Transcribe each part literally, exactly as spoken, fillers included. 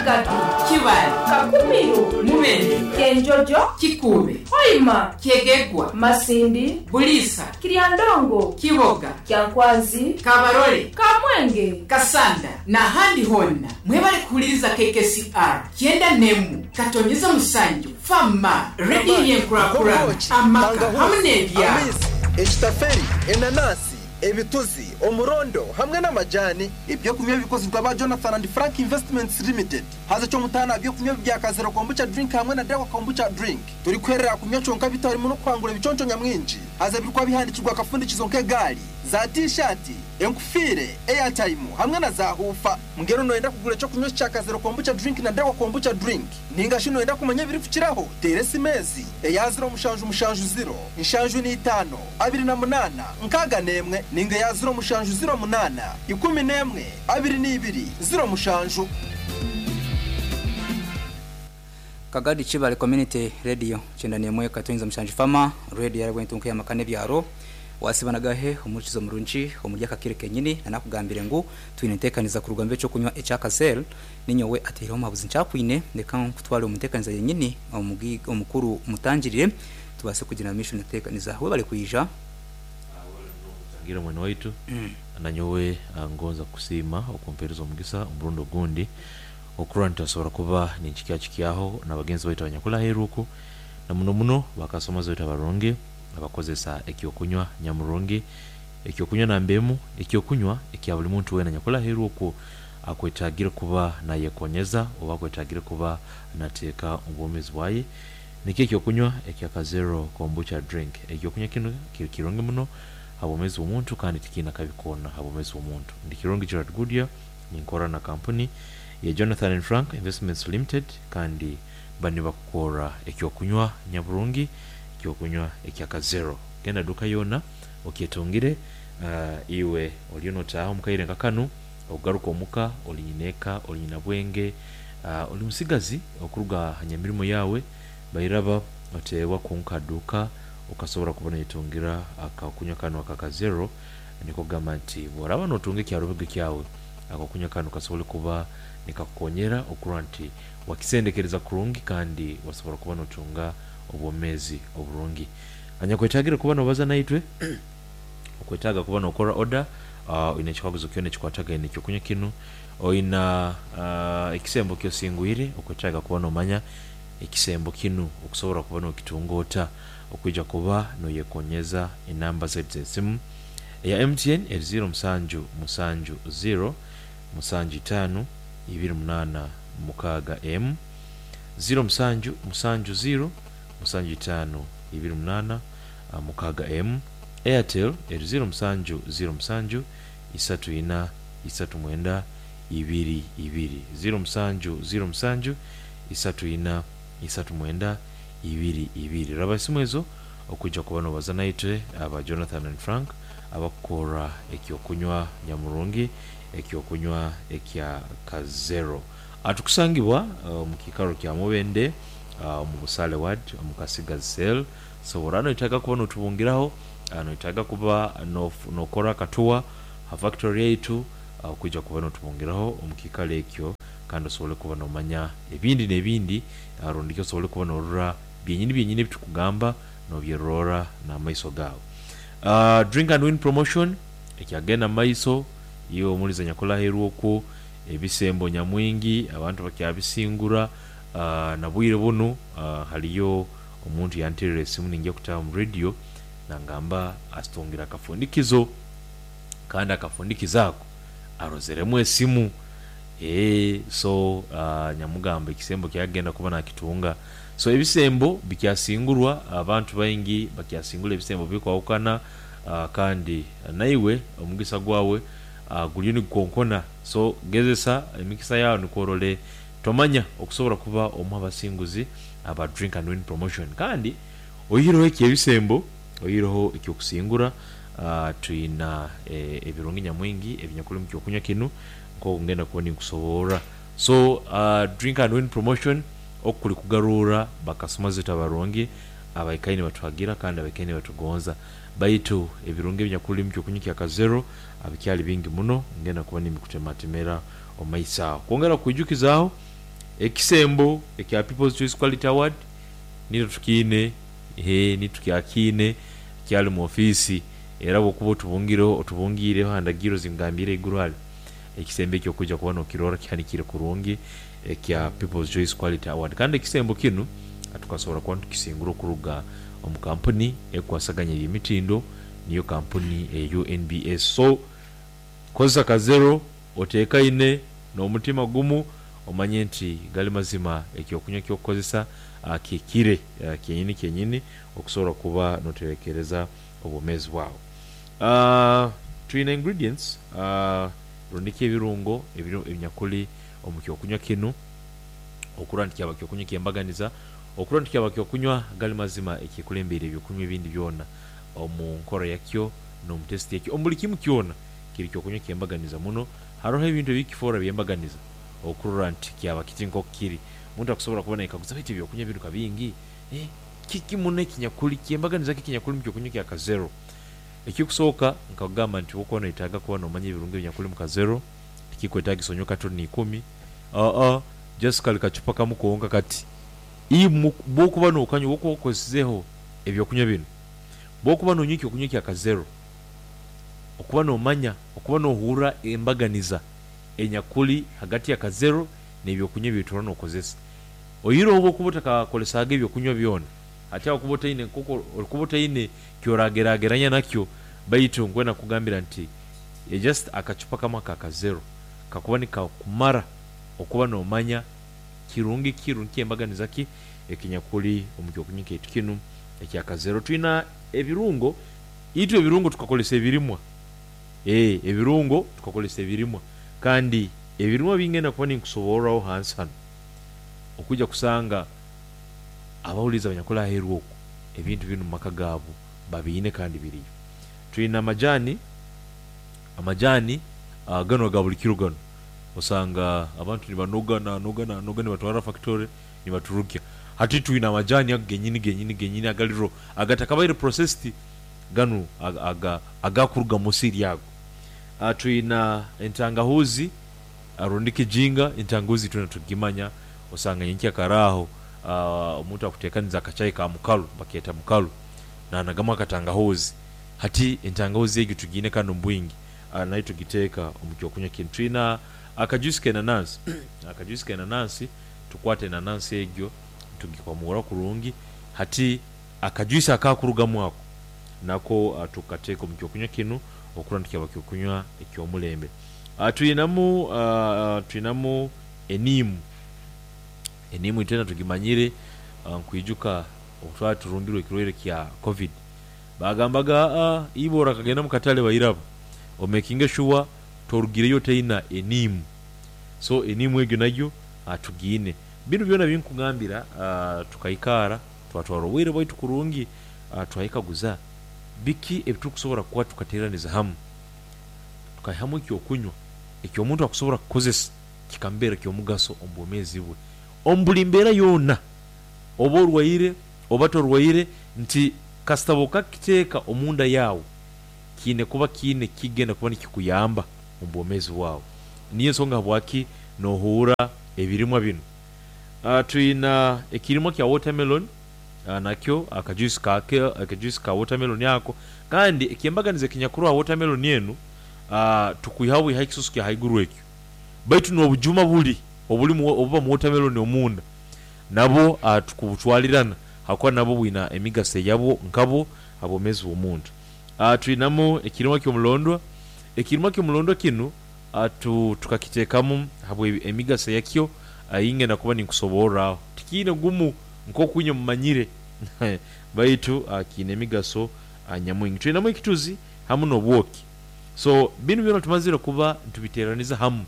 Kasangati, Kibale, Kakumiro, Mubende, Kyenjojo, Kikuube, Hoima, Kyegegwa, Masindi, Buliisa, Kiryandongo, Kiboga, Kyankwanzi, Kabarole, Kamwenge, Kasanda n'ahandi honna mwebale kuhuliriza K K C R kyenda nemu katonyeza musanju fama rediyo y'enkurakurana amaka hamwe n'ebyalo. Amaizi, ekitaferi, enanasi, ebituzi, omurondo hamwe n'amajani, ebyokunywa bikozirwa ba Jonathan and Frank Investments Limited. Haza kyomutaana byokunywa bya Kazero Kombucha Drink hamwe na Dawa Kombucha Drink. Turi kwerera kunywa kyonka bitarimu no kwangura ebiconco nyamwingi. Haza birikuba bihandikirwa akafundikizo nk'egaari, za T-shirt, enkufire, airtime hamwe na za hufa. Mbwenu noyenda kugura ekyokunywa kya Kazero Kombucha Drink na Dawa Kombucha Drink, ninga shi noyenda kumanya ebirikukiraho, teera esimu ezi: eya ziro mushanju mushanju ziro nshanju n'itaano abiri na munaana nkaaga n'emwe, ninga eya ziro mushanju ziro munaana ikumi n'emwe abiri n'ibiri ziro mushanju. Kagadi Chibale Community Radio, kyenda nemwe katonyeza mushanju fama radio yarabwe ntunka y'amaka n'ebyaro. Wasibanagahe omurikizo murungi omuri akakire kenyini nanakugambire ngu twine enteekaniza ku rugambo ekyokunywa ekyakazel. Ninyowe ateireho omuhabuzi nkyakwine. Leka nkutware omu nteekaniza yenyini, omugi- omukuru mutangirire tubase kugira mission enteekaniza. We bali kwija. Ngira mwene waitu, nanyowe ah, ngonza kusiima okumpereza omugisa omurundi ogundi okurora nitasobora kuba ninkikya kikyaho nabagenzi baitu abanyakula aheeru na muno muno bakasomazi baitu abarungi abakozesa ekyokunywa nyamurungi, ekyokunywa nambemu, ekyokunywa ekya buli muntu wena nyakula aheeru okwo akwetagire kuba nayekonyeza oba akwetagire kuba nateeka obwomezi bwaye, nikyo ekyokunywa ekya Kazero Kombucha Drink. Ekyokunywa kino kiri kirungi muno habwomezi bw'omuntu kandi tikiina kabi koona habwomezi bw'omuntu. Ndi Kirungi Gerard Goodyear, ninkora na kampuni ya Jonathan and Frank Investments Limited, kandi bani bakukora ekyokunywa nyaburungi, ekyokunywa ekya Kazero. Genda duka yona okyetungire. uh, iwe oliyo notaaha omukaire nka kanu, ogaruka omuka, oli nyineeka, oli nyina bwenge, uh, oli musigazi okuruga ha nyamirimo yawe, bairaba oteebwa kunka duka okasobora kuba noyetungira akakunywa kanu akakazero. Niko kugamba nti bworaba notunga ekyarubege kyawe, akakunywa kanu kasobole kuba nikakukonyera okurora nti wakisendekereza kurungi kandi wasobora kuba notunga obwomezi oburungi. Anyakwetagire kuba nobaza naitwe, okwetaaga kuba nokora order, uh, oine ekikaguzo kyona ekikwatagaine ekyokunywa kinu, oina uh, ekisembo kyosingwire, okwetaaga kuba nomanya ekisembo kinu okusobora kuba nokitunga ota okwija kuba noyekonyeza, enamba zaitu z'esimu: eya M T N eri ziro musanju musanju ziro musanju itaano ibiri munaana mukaaga emu, ziro musanju musanju ziro musanju itaano ibiri munaana ah, mukaaga emu. Airtel eri ziro musanju ziro musanju isatu ina isatu mwenda ibiri ibiri, ziro musanju ziro musanju isatu ina isatu mwenda ibiri ibiri. Raba esimu ezo okwijja kuba nobaza naitwe aba Jonathan and Frank abakukora ekyokunywa nyamurungi, ekyokunywa ekya Kazero. Atukusangibwa uh, mu kiikaro kya Mubende, uh, omu Busale Ward, omu Kasigazi Cell. So oraba noyetaaga kuba notubungiraho, uh, noyetaaga kuba nof- nokora akatuwa ha factory yaitu, uh, okwija kuba notubungiraho omu kiikaro ekyo kandi osobole kuba nomanya ebindi n'ebindi, uh, rundi osobole kuba norora byenyini byenyini ebitukugamba nobyerora n'amaiso gaawe. uh, drink and win promotion ekyagenda mu maiso. Iwe omuliza nyakula aheeru okwo, ebisembo nyamwingi abantu bakyabisingura. uh, na bwire bunu uh, haliyo omuntu yanterera esimu ninjya kutaha mu radio nangamba asitungira akafundikizo, kandi akafundikizo ako arozeremu esimu. ee so uh, nyamugamba ekisembo kyagenda kuba nakitunga. So ebisembo bikyasingurwa, abantu baingi bakyasingura ebisembo bikwawukana, uh, kandi naiwe omugisa gwawe uh, guliyo nigukonkona. So gezesa emikisa yawe nikworole, tomanya okusobora kuba omu abasinguzi aba Drink and Win promotion. Kandi oyihireho ekyo ebisembo, oyihireho ekyokusingura, uh, twina eh, ebirungi nyamwingi ebinyakuli mu kyokunywa kinu nk'okungenda kuba ninkusoborra. So uh, Drink and Win promotion okuli kugarura bakasoma zaitu abarungi abaikaire nibatuhagira kandi abaikaire nibatugonza, baitu ebirungi ebinyakuli mu kyokunywa kya Kazero bikyali bingi muno, ngenda kuba nimbikutematemera omu maiso aho kwongera kwijukizaaho. Ekisembo ekya People's Choice Quality Award nitwe tukiine, ee nitukyakiine kyali mu ofiisi era bw'okuba otubungireho otubungiireho aha ndagiriro zingambiire eiguru hali ekisembo ekyo okujja kuba nokirora kihanikire kurungi ekya People's Choice Quality Award. Kandi ekisembo kinu tukasobola kuba nitukisingura okuruga omu kampuni ekwasaganya eby'emitindo niyo kampuni eya U N B S. So kozesa Kazero oteekaine n'omutima gumu omanye nti gali mazima ekyokunywa ekyokukozesa kihikire kyenyini kyenyini okusobola kuba noterekereza obwomeezi bwawe. Twine ingredients rundiki ebirungo ebinyakuli omu kyokunywa kinu okurora nti kyaba kyokunywa ekyembaganiza, okurora nti kyaba kyokunywa gali mazima ekikulembeire ebyokunywa ebindi byona omu nkora yakyo n'omu test yakyo omu buli kimu kyona kiri kyokunywa ekyembaganiza muno. Haroho ebintu ebikifoora byembaganiza okurora nti kyaba kiti nk'oku kiri. Omuntu akusobola kuba naikaguza baitu ebyokunywa binu ka bingi, eh kiki muno ekinyakuli kyembaganiza ki ekinyakuli mu kyokunywa kya Kazero? Ekikusooka nkakugamba nti bw'okuba noetaaga kuba nomanya ebirungo ebinyakuli mu Kazero tikikwetaagisa onywe katoni ikumi, aa just kali kacupa kamu konka kati. Imwe bw'okuba nokanywa bw'okuba okozeseizeho ebyokunywa binu, bw'okuba nonywa ekyokunywa kya Kazero, okuba nomanya okuba nohurra embaganiza enyakuli hagati ya Kazero n'ebyokunywa ebyotura nokozesa. Oihireho bw'okuba otakakozesaga ebyokunywa byona, hati aho okuba otaine nk'oku orikuba otaine kyorageraageranya nakyo, baitu nkwenda kukugambira nti just akacupa kamwe aka Kazero kakuba nikakumara okuba nomanya kirungi ki rundi kyembaganiza ki ekinyakuli omu kyokunywa kyaitu kinu ekya Kazero. Twina ebirungo, itwe ebirungo tukakozesa ebirimwa, ee ebirungo tukakozesa ebirimwa kandi ebirimwa bingenda kuba ninkusoborraho hansi hanu okujja kusanga abawuliza abanyakuli aheeru okwo ebintu binu mu maka gaabo babiine kandi biriyo. Twina amajani, amajani ganu aga buli kiro ganu osanga abantu nibanoga nanoga nanoga nibatwara factory nibaturukya. Hati twina amajani ago genyini genyini genyini agali raw agatakabaire processed ganu aga agakuruga mu musiri ago. Twina entangahuzi rundi kijinga, entangahuzi twena tukugimanya osanga nyenkya kare aho omuntu akuteekaniza akachai ka mukalu bakeeta mukalu nanagamu akatangahuzi. Hati entangahuzi egyo tugiine kandi omu bwingi nayo tugiteeka omu kyokunywa kinu. Twina akajuice k'enanansi, akajuice k'enanansi tukwata enanansi egyo tugikwamura kurungi hati akajuice akakurugamu ako nako tukateeka omu kyokunywa kinu okurora nti kyaba kyokunywa eky'omulembe. Twinamu twinamu eniimu, eniimu itwena tugimanyire nkwijuka obu twaba turumbirwe ekirwaire kya Covid bagambaga aa iwe orakagenda mu katale bairaba omekinge shuwa torugireyo otaina eniimu. So eniimu egyo nayo tugiine. Binu byona binkugambira tukaikaara twatwara obwire bwaitu kurungi twaikaguza biki ebitukusobola kuba tukateeraniza hamu tukaihamu ekyokunywa eky'omuntu akusobola kukozesa kikamubeera ky'omugaso omu bwomeezi bwe omu buli mbeera yoona oba orwaire oba torwaire nti kasita bw'okakiteeka omunda yaawe kiine kuba kiine kigenda kuba nikikuyamba omu bwomeezi bwawe. Niyo ensonga habwaki nohuura ebirimwa binu. Twina ekirimwa kya watermelon nakyo akajuice kakyo akajuice ka watermelon ako kandi ekyembaganiza ekinyakuruho aha watermelon enu tukwihaho bwihaho ekisusu kya haiguru ekyo baitu n'obujuma buli obulimu obuba mu watermelon omunda nabwo tukubutwalirana hakuba nabwo bwina emigaso eyabwo nkabwo aha bwomeezi bw'omuntu. Twinamu ekirimwa ky'omulondwa, ekirimwa ky'omulondwa kinu tukakiteekamu habwa emigaso yakyo eyingenda kuba ninkusoborraho. Tikiine gumu nk'oku inywe mumanyire baitu kiine emigaso nyamwingi. Twinamu ekituzi hamu n'obwoki. So binu byona tumazire kuba nitubiteeraniza hamu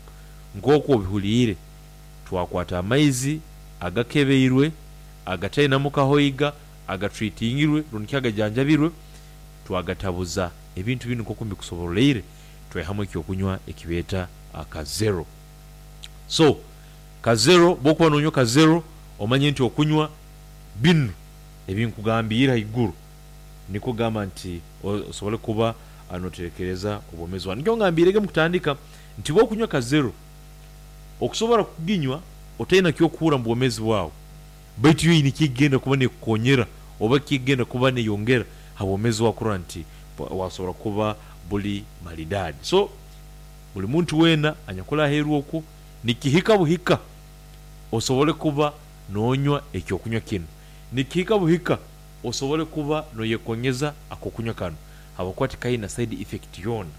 nk'oku obihuliire, twakwata amaizi agakebeirwe, agatainamu kahoiga, agatreatingirwe rundi ki agajanjabirwe, twagatabuza ebintu binu nk'oku mbikusoboroleire twaihamu ekyokunywa ekibeeta Kazero. So Kazero bw'okuba nonywa Kazero omanye nti okunywa binu ebinkugambiire haiguru nikwo kugamba nti osobole kuba noterekereza obwomeezi bwawe. Nikyo ngambiirege mukutandika nti bw'okunywa Kazero okusobola kuginywa Otaina kyokuhura mu bwomeezi bwawe, baitu yo eine kyekigenda kuba nekukonyera oba kyekigenda kuba neyongera ha bwomeezi bwawe kurora nti wasobora kuba buli maridadi. So buli muntu weena anyakuli aheeru okwo nikihika buhika osobole kuba nonywa ekyokunywa kinu, nikihika buhika osobole kuba noyekonyeza akokunywa kanu habwokuba tikaina side effect yoona.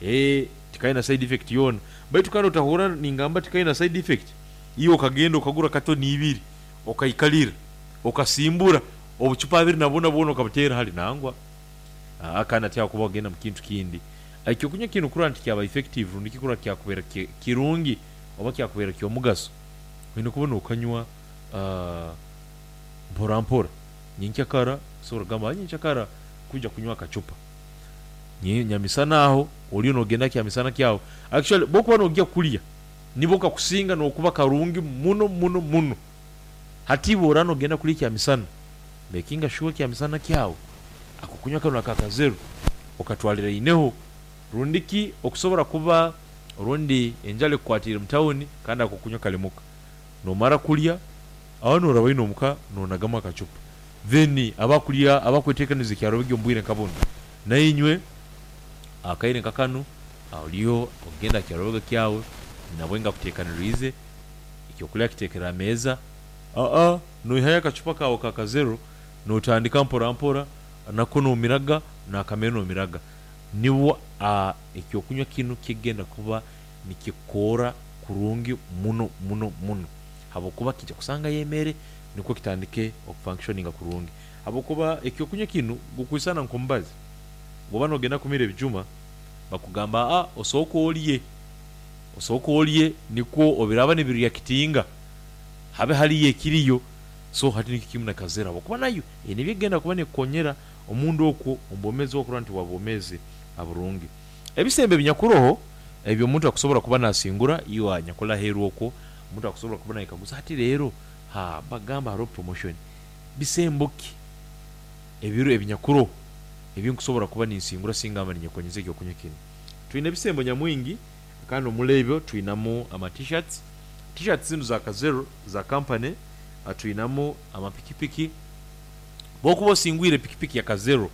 Eeh tikaina side effect yoona, baitu kandi otahurra ningamba tikaina side effect, iwe okagenda okagura katoni ibiri okaikalira okasimbura obucupa abiri na buna bwona okabuteera hali nangwa. Aa kandi hati aho kuba wagenda mu kintu kindi. Ekyokunywa kinu kurora nti kyaba effective rundi ki kurora kyakubeera kirungi oba kyakubeera ky'omugaso, oine kuba nokanywa mpora mpora. Nyenkyakara osobola kugamba nyenkyakara kwija kunywa akacupa, nyamisana aho oliyo nogenda kyamisana kyawe, actually bwokuba nogya kulya nibwo kakusinga nokuba karungi muno muno muno. Hati bworaba nogenda kulya ekyamisana, makinga sure ekyamisana kyawe akokunywa kanu aka Kazero okatwaliraineho, rundi ki okusobora kuba orundi enjara ekukwatiire mu tawuni kandi akokunywa kali muka, nomara kulya aho noraba ino omuka nonagamu akacupa, then abakulya abakwetekaniza ekyarobegi omu bwire nka bunu, nainywe akaire nka kanu oliyo okugenda aha kyarobega kyawe nabwe nga akuteekaniriize ekyokulya akiteekere aha meeza, aa noihayo akacupa kaawe ka Kazero notandika mpora mpora nako nomiraga nakamere nomiraga, nibwo ekyokunywa kinu kigenda kuba nikikukora kurungi muno muno muno habwokuba kiija kusangayo emere nikwo kitandike okufunctioninga kurungi habwokuba ekyokunywa kinu gukwisana nkomubazi, bwoba nogenda kumira ebijuma bakugamba aa osooke olye, osooke olye nikwo obiraba nibireactinga habe haliyo ekiriyo. So hati nikyo kimu na Kazero habwokuba nayo eine ebyekugenda kuba nekukonyera omunda okwo omu bwomeezi bwawe kurora nti waba bwomeezi burungi. Ebisembo ebinyakuroho ebyo omuntu akusobora kuba nasingura iwe anyakuli aheeru okwo, omuntu akusobora kuba nayekaguza hati leero haa bagamba haroho promotion, bisembo ki ebiro ebinyakuroho ebinkusobora kuba ninsingura singa mba ninyekonyeza ekyokunywa kinu? Twine ebisembo nyamwingi kandi omuri ebyo twinamu ama t-shirts, t-shirts zinu za Kazero za kampani, twinamu amapikipiki, bwokuba osingwire pikipiki ya Kazero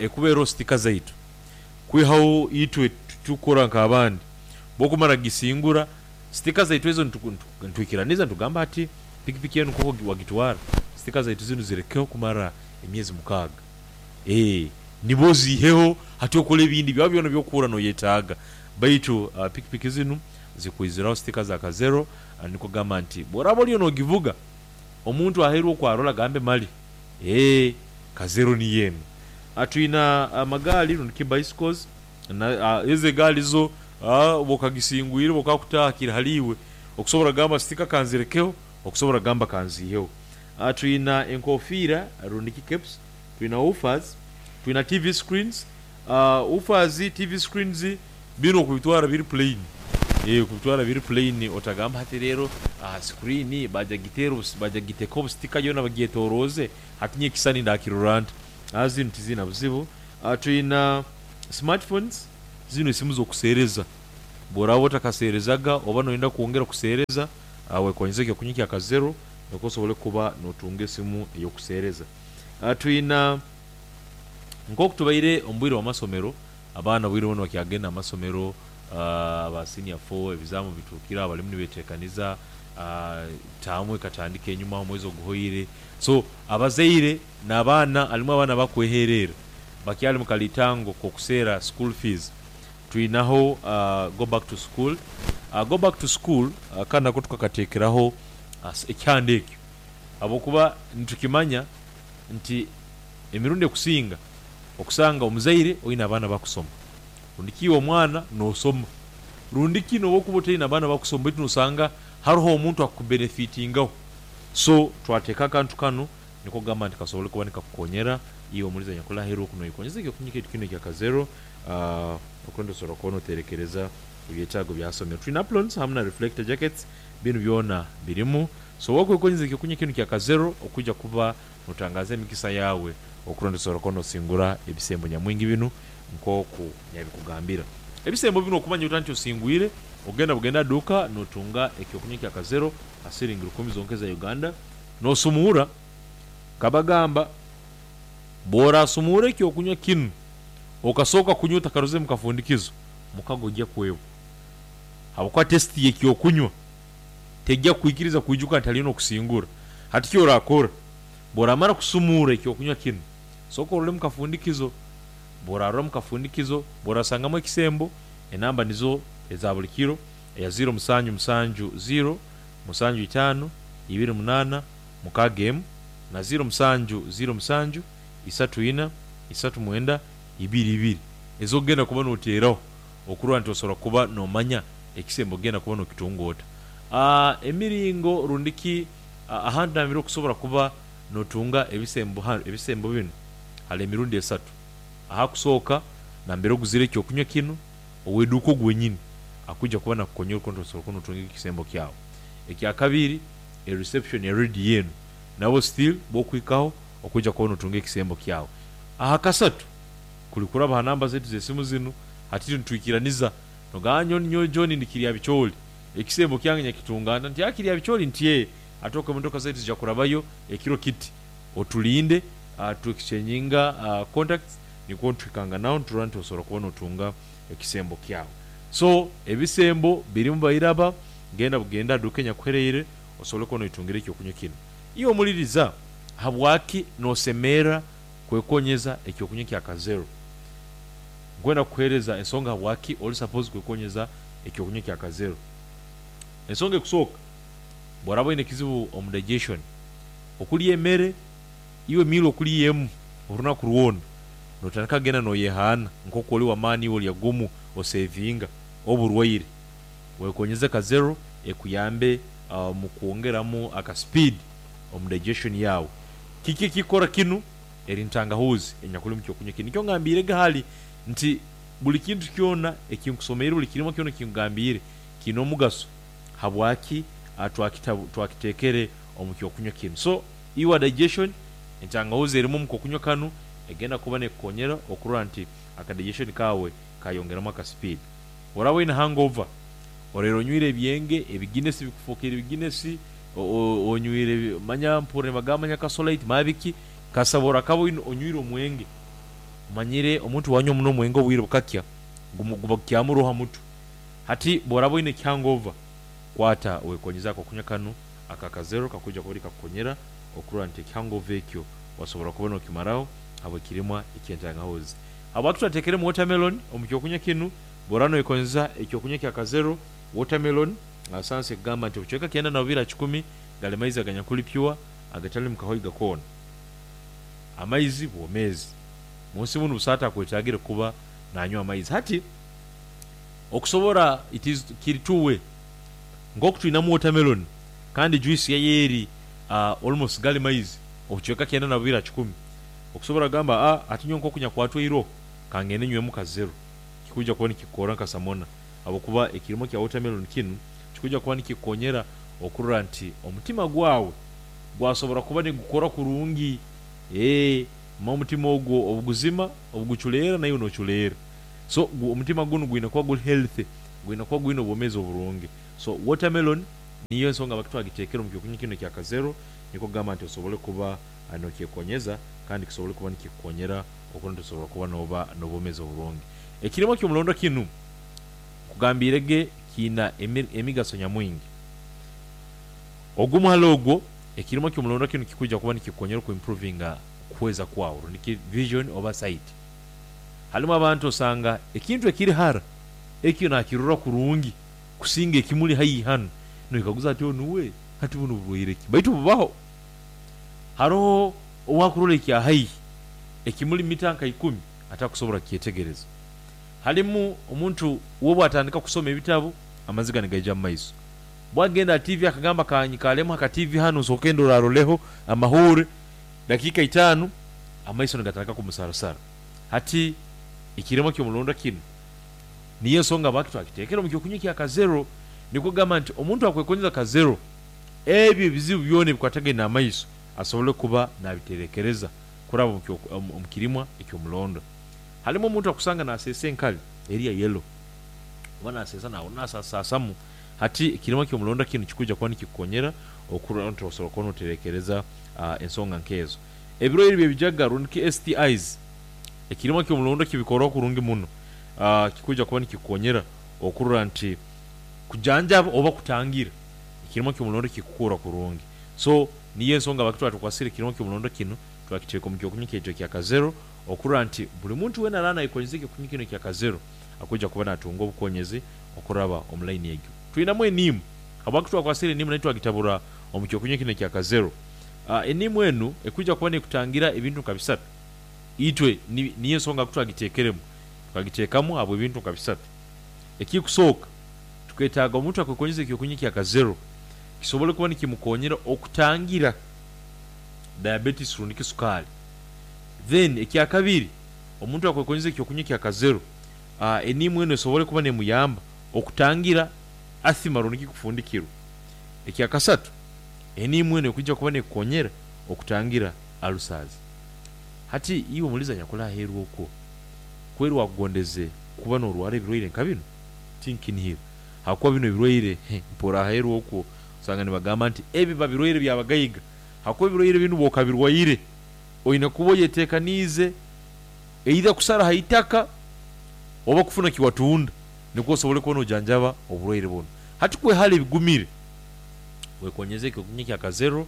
ekuba eroho sitika zaitu kwihaho itwe titukukora nk'abandi, bwokumara kugisingura sitika zaitu ezo nitwikiraniza nitugamba hati pikipiki enu nkoku wagitwara sitika zaitu zinu zirekeho kumara emyezi mukaaga, eeh nibwo oziiheho hati okole ebindi byawe byona ebyokuhurra noyetaaga. Baitu pikipiki zinu zikwiziraho sitika za Kazero nikwo kugamba nti bworaba oriyo nogivuga omuntu aheeru okwo arole agambe mali eeh Kazero niyo enu. Twina amagaali rundi ki bicycles, ezo egaali zo bwokagisingwire bwokakutaaha kiri hali iwe okusobora kugamba sitika kanzirekeho okusobora kugamba kanziiheho. Twina enkofiira rundi ki caps, twina woofers, twina T V screens, woofers, T V screens binu okubitwara biri plain, okubitwara biri plain otagamba hati reero aha screen baija kugiteera baija kugiteekaho obusitika yoona bagyetoroze hati nyowe ekisani ndakirora nta? Zinu tiziina buzibu. Twina smartphones, zinu esimu z'okuseereza, bworaba otakaseerezaga oba noyenda kwongera kuseereza, wekonyeze ekyokunywa kya Kazero nikwo osobole kuba notunga esimu ey'okuseereza. Twina nkoku tubaire omu bwire bw'amasomero, abaana obwire bunu bakyagenda omu masomero, aba senior four ebizaamu bituukire aho barimu nibeteekaniza, taamu ekatandika enyuma aho omwezi oguhoire, so abazaire n'abaana harimu abaana abakweherera bakyali mu kalitango k'okuseera school fees, twinaho go back to school. Go back to school kanu nako tukakateekeraho ekyanda ekyo habwokuba nitukimanya nti emirundi ekusinga okusanga omuzaire oine abaana bakusoma rundi ki iwe omwana nosoma rundi ki nobu okuba otaine abaana bakusoma baitu nosanga haroho omuntu akubenefitingaho, so twateeka akantu kanu nikwo kugamba nti kasobole kuba nikakukonyera iwe omulizi anyakuli aheeru oku noyekonyeza ekyokunywa kyaitu kinu ekya Kazero okurora nti osobola kuba noterekereza ebyetaago bya somero. Twine aprons hamu na reflector jackets, binu byona birimu, so wakwekonyeza ekyokunywa kinu kya Kazero okwija kuba notangaza emikisa yaawe okurora nti osobola kuba nosingura ebisembo nyamwingi binu nkoku nabikugambira. Ebisembo binu okumanya ota nti osingwire, Ogenda bugenda duka notunga ekyokunywa kya Kazero asiringi rukumi zonka za Uganda nosumura kabagamba bw'orasumura ekyokunywa kinu okasooka kunywa otakaruze mu kafundikizo mukago ojja kwebwa habwokuba testi y'ekyokunywa tejja kukwikiriza kwijuka nti haliyo n'okusingura. Hati kyorakora bw'oramara kusumura ekyokunywa kinu sooka orole mu kafundikizo, bw'orarora mu kafundikizo bw'orasangamu ekisembo enamba nizo eza buli kiro eya ziro musanju musanju ziro musanju itaano ibiri munaana mukaaga emu na ziro musanju ziro musanju isatu ina isatu mwenda ibiri ibiri ez'okugenda kuba noteeraho okurora nti osobola kuba nomanya ekisembo ogenda kuba nokitunga ota. Aa emiringo rundi ki ahantu nambere okusobola kuba notunga ebisembo ebisembo binu hali emirundi esatu. Ahakusooka nambere oguzire ekyokunywa kinu ow'eduuka ogu wenyini akwija kuba nakukonyera okuntu osobola kuba notunga ekisembo kyawe. Ekyakabiri e reception ya rediyo enu nabo still bokwikaho okwija kuba notunga ekisembo kyawe. Ahakasatu kuli kuraba ha namba zaitu z'esimu zinu hati itwe nitwikiraniza nogamba nyowe nyowe John ndi Kiryabicholi ekisembo kyange nyakitunga nta nti aa Kiryabicholi nti ee ate okwo emotoka zaitu zija kurabayo ekiro kiti otulinde tu exchanginga contacts nikwo nituhikanganaho niturora nti osobola kuba notunga ekisembo kyawe. So ebisembo birimu bairaba genda bugenda aha duuka enyakuhereire osobole kuba noitungira ekyokunywa kinu. Iwe omuliriza habwaki nosemerra kwekonyeza ekyokunywa kya Kazero? Nkwenda kukuheereza ensonga habwaki ori supposed kwekonyeza ekyokunywa kya Kazero. Ensonga ekusooka bw'oraba oine ekizibu omu digestion, okulya emere iwe meal okulya emu orunaku rwona notandika kugenda noyehaana nk'oku ori w'amaani iwe olya gumu osevinga oburwaire. Wekonyeze Kazero ekuyambe omu kwongeramu aka speed omu digestion yaawe. Kiki ekikukora kinu? Eri ntangahuuzi enyakuli omu kyokunywa kinu. Nikyo ngambiirege hali nti buli kintu kyona ekinkusomeire buli kirimwa kyona ekinkugambiire kiine omugaso habwaki twakiteekere omu kyokunywa kinu. So iwe digestion entangahuuzi erimu omu kokunywa kanu egenda kuba nekukonyera okurora nti aka digestion kaawe kayongeramu aka speed. Bw'oraba oine hangover, oraire onywire ebyenge, ebiginesi bikufokeire biginesi, onywire manya mpurra nibagamba manya kasolite manya biki, kasita orakaba onywire omwenge. Omanyire omuntu bwanywa muno omwenge obwire bukakya guba gukyamuroho ha mutwe. Hati bw'oraba oine hangover, kwata wekonyeze akokunywa kanu aka Kazero kakwija kuba nikakukonyera okurora nti ekihangover ekyo wasobola kuba nokimaraho habw'ekirimwa eky'entangahuzi. Habwaki twateekeremu watermelon omu kyokunywa kinu? Bw'oraba noyekonyeza ekyokunywa kya Kazero, watermelon sayansi ekugamba nti obucweka kyenda na bubiri aha kikumi gali maizi aganyakuli pure agatalimu kahoiga koona. Amaizi bwomeezi. Munsi munu busaho atakwetagire kuba nanywa amaizi. Hati okusobora it is kiri two way nk'oku twinamu watermelon kandi juice yayo eri almost gali maizi obucweka kyenda na bubiri aha kikumi okusobora kugamba aa hati nyowe nk'oku nyakwatwa eiroho kangende nywemu Kazero kikwija kuba nikikukora nka samona habwokuba ekirimwa kya watermelon kinu kikwija kuba nikikukonyera okurora nti omutima gwawe gwasobora kuba nigukora kurungi ee omutima ogwo obuguzima obuguculeera naiwe noculeera. So omutima gunu gwine kuba guri healthy, gwine kuba gwine obwomeezi oburungi. So watermelon niyo ensonga habwaki twagiteekere omu kyokunywa kinu ekya Kazero nikwo kugamba nti osobole kuba nokyekonyeza kandi kisobole kuba nikikukonyera okurora nti osobola kuba nooba n'obwomeezi oburungi. Ekirimwa ky'omulondo kinu nkugambiirege kiina emigaso nyamwingi. Ogumu hali ogwo, ekirimwa ky'omulondo kinu kikwija kuba nikikukonyera okuimprovinga okuhweza kwawe rundi vision oba sight. Halimu abantu osanga ekintu ekiri hara ekyo naakirora kurungi kusinga ekimuli haihi hanu noikaguza ati onu we hati bunu burwaire ki? Baitu bubaho. Haroho owakurora ekya haihi ekimuli mita nka ikumi atakusobora kukyetegereza. Halimu omuntu we bwatandika kusoma ebitabu amaziga nigaija mu maiso. Bwagenda aha T V akagamba kanyikalemu aha ka T V hanu nsooke ndoraroleho amahuure dakiika itaano amaiso nigatandika kumusarasara. Hati ekirimwa ky'omulondo kinu niyo ensonga habwaki twakiteekere omu kyokunywa kya Kazero nikwo kugamba nti omuntu akwekonyeza Kazero ebyo ebizibu byona ebikwatagaine n'amaiso asobole kuba nabiterekereza kuraba omu kirimwa eky'omulondo. Halimu omuntu akusanga naseesa enkali eri ya yellow. Oba naseesa nawe nasasasamu. Hati ekirimo ky'omulondo kinu kikuja kuba nikikukonyera okurora nti osobola kuba noterekereza uh, ensonga nkezo. Ebirwaire byebijaga rundi ki S T Is, ekirimo ky'omulondo kibikora kurungi muno. Uh, kikuja kuba nikikukonyera okurora nti kujanjaba oba kutangira ekirimo ky'omulondo kikukura kurungi. So niyo ensonga bakitwara tukwasire ekirimo ky'omulondo kinu twakiteeka omu kyokunywa kyekyo kya Kazero, okurora nti buli muntu weena araana ayekonyeza ekyokunywa kinu kya Kazero akuja kuba natunga obukonyezi okuraba omu line egyo. Twinamu eniimu, habwaki twakwasire eniimu nayo twagitabura omu kyokunywa kinu ekya Kazero. Uh, eniimu enu ekuja kuba nekutangira ebintu nka bisatu. Itwe niyo ensonga kutwagiteekeremu, twagiteekamu habw'ebintu nka bisatu. Ekikusooka, tuketaaga omuntu akwekonyeza ekyokunywa kya Kazero kisobole kuba nikimukonyera okutangira diabetes rundi kisukari. Then ekyakabiri, omuntu akwekonyeza ekyokunywa kya Kazero, uh, eniimu enu esobole kuba nemuyamba okutangira asthma rundi kikufundikirwa. Ekyakasatu, eniimu enu ekuja kuba nekukonyera okutangira ulcers. Hati iwe muliza nyakula aheeru okwo, kweri wakugondeze kuba norwara ebirwaire nka bino? Tinkinihira. Hakuba bino ebirwaire mpora aheeru okwo osanga nibagamba nti ebi babirwaire byabagaiga. Hakuba ebirwaire binu bwokabirwaire oine kuba oyeteekaniize either kusara ha itaka oba kufuna kiwatunda nikwo osobole kuba nojanjaba oburwaire bunu. Hati kwehara ebigumire, wekonyeze ekyokunywa kya Kazero,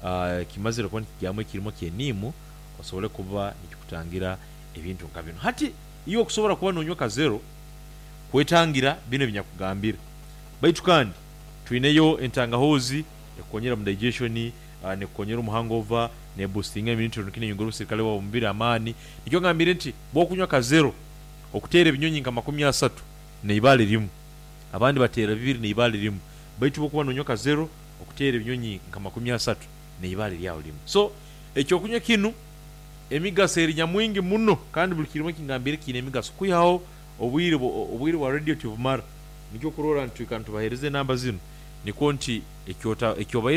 uh, kimazire kuba nikigyamu ekirimo ky'eniimu osobole kuba nikikutangira ebintu nka bino. Hati iwe okusobora kuba nonywa Kazero kwetangira bino ebinyakugambira. Baitu kandi twineyo entangahuzi ekukonyera mu digestion, uh, nekukonyera omu hangover, ne boostinga immunity rundi neyongera obusirikale bwawe omubiri amaani. Nikyo ngambire nti bwokunywa Kazero okuteera ebinyonyi nka makumi asatu neibaale rimu, abandi bateera bibiri neibaale rimu, baitu bwokuba nonywa Kazero okuteera ebinyonyi nka makumi asatu neibaale lyawe rimu. So ekyokunywa kinu emigaso eri nyamwingi muno, kandi buli kirimo kingambire kiine emigaso. Kwihaho obwire obwire bwa radio tibumara, nikyo kurora nti twikara nitubahereza enamba zinu nikwo nti ekyota ekyobaire